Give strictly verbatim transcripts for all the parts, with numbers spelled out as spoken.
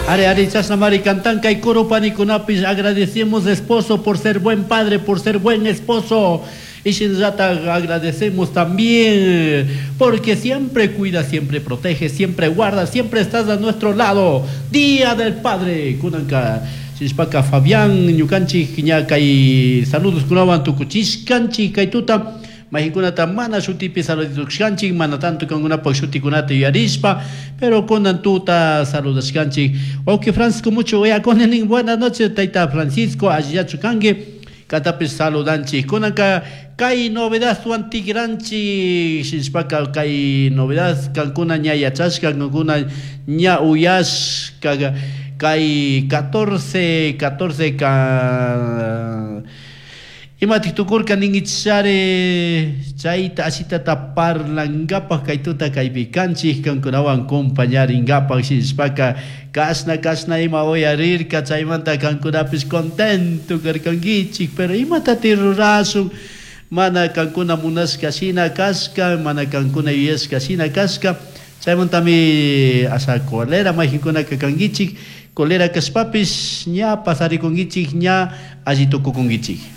Ari, ari, chashnamari cantan kay coro panikunapis agradecemos esposo por ser buen padre, por ser buen esposo. Y shinallata agradecemos también porque siempre cuida, siempre protege, siempre guarda, siempre estás a nuestro lado. Día del Padre, kunanka. Shishpaka Fabián, ñukanchik ña kay saludos kunawan tukuchishkanchik kay tuta. Mayqinkunata mana shutipi saludashkanchik, mana tanto kankunapak shutikunata yuyarishpa, pero kunan tuta saludashkanchik. Wawqi Francisco mucho nin buenas noches tayta Francisco, allillachu kanki, katapis saludanchik. Kunanka kay novedadwan tikranchik, shishpaka kay novedad kankuna ña yachashka, kankuna ña uyashka, kay catorce, catorce ka imatik tukurka ninkichishari chayta ashitata parlankapaj kay tuta kaypi kanchik kankunawan compañarinkapak shishpaka kashna kashna ima uyarirka chaymanta kankunapis contento karkankichik, pero imatati rurashun mana kankuna munashka shina kashka, mana kankuna yuyashka shina kashka, chaymantami asha colera mayqinkunaka kankichik, colera kashpapis ña pasarikunkichik, ña alli tukukunkichik.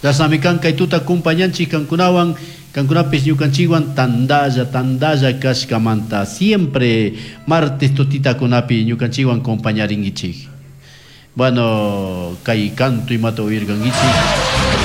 Chashnami kan kay tuta compañanchik kankunawan, kankunapis ñukanchikwan tandalla, tandalla kashkamanta siempre martes tutitakunapi ñukanchikwan compañarinkichik. Bueno, kay canto imata uyarkankichik.